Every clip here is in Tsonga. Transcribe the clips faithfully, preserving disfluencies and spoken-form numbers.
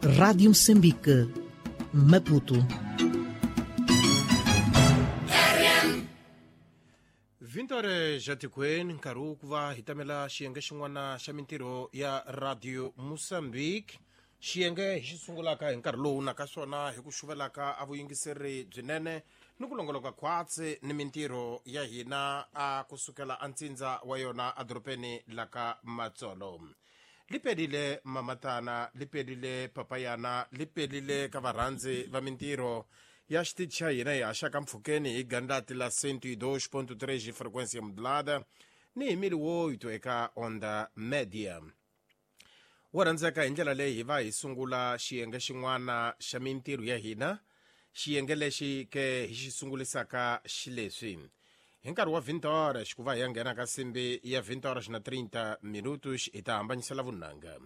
Rádio Moçambique, Maputo. vinte horas já tikweni nkarhi wo ku va hi tamela xiyenge xin'wana xa mintirho ya Radio Moçambique. Xiyenge hi xi sungulaka hi nkarhi lowu na ka swona hi ku xuvelaka a vuyingiseri byinene ni ku longoloka khwatsi ni mintirho ya hina a kusukela a ntsindza wa yona edorobeni la ka Matsolo. Li pelile mamatana, li pelile papayana, li pelile ka varhandzi va mintirho ya xitichi xa hina hi haxaka mpfhukeni hi gandlati la cento e dois ponto três frequência modulada ni hi mili woyito eka onda media. Wo rhandzeka hi ndlela leyi hi va hi sungula xiyenge xin'wana xa mintirho ya hina, xiyenge lexi ke hi xi sungulisaka xileswi. Hi nkarhi wa vinte horas ku va hi ya nghena ka simbi ya vinte horas na trinta minutos hi ta hambanyisela vunanga.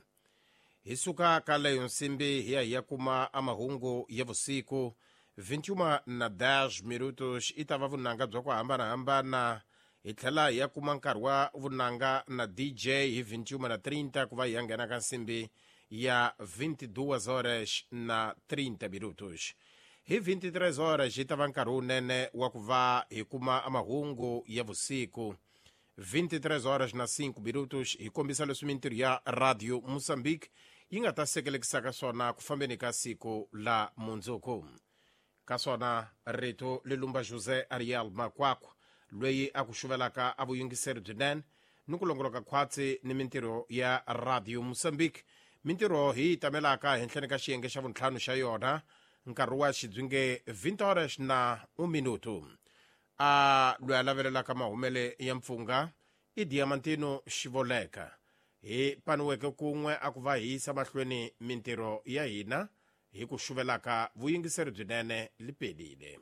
Hi suka ka leyo nsimbi hi ya hi ya kuma a mahungu ya vusiku vinte e uma na dez minutos i ta va vunanga bya ku hambanahambana. Hi tlhela hi ya kuma nkarhi wa vunanga na D J hi vinte e uma na trinta ku va hi ya nghena ka nsimbi ya vinte e duas horas na trinta minutos. Hi vinte e três horas hi ta va nkarhi wunene wa ku va hi kuma mahungu ya vusiku. vinte e três horas na cinco minutos hi kombisa leswi mintirho ya Radio Moçambique yi nga ta sekelekisaka swona ku fambeni ka siku la mundzuku. Ka swona rito lilumba José Ariel Makwakwa loyi a ku xuvelaka a vuyingiseri byinene ni ku longoloka khwatsi ni mintirho ya Radio Moçambique. Mintirho hi yi tamelaka henhleni ka xiyenge xa vuntlhanu xa yona nkarhi wa xidzunge vinte horas na um minuto. A loyi a lavelelaka mahumele ya mpfungha i Diamantino Xivoleka. Hi paniweke kun'we a ku va hi yisa mahlweni mintirho ya hina hi ku xuvelaka vuyingiseri byinene li pelile.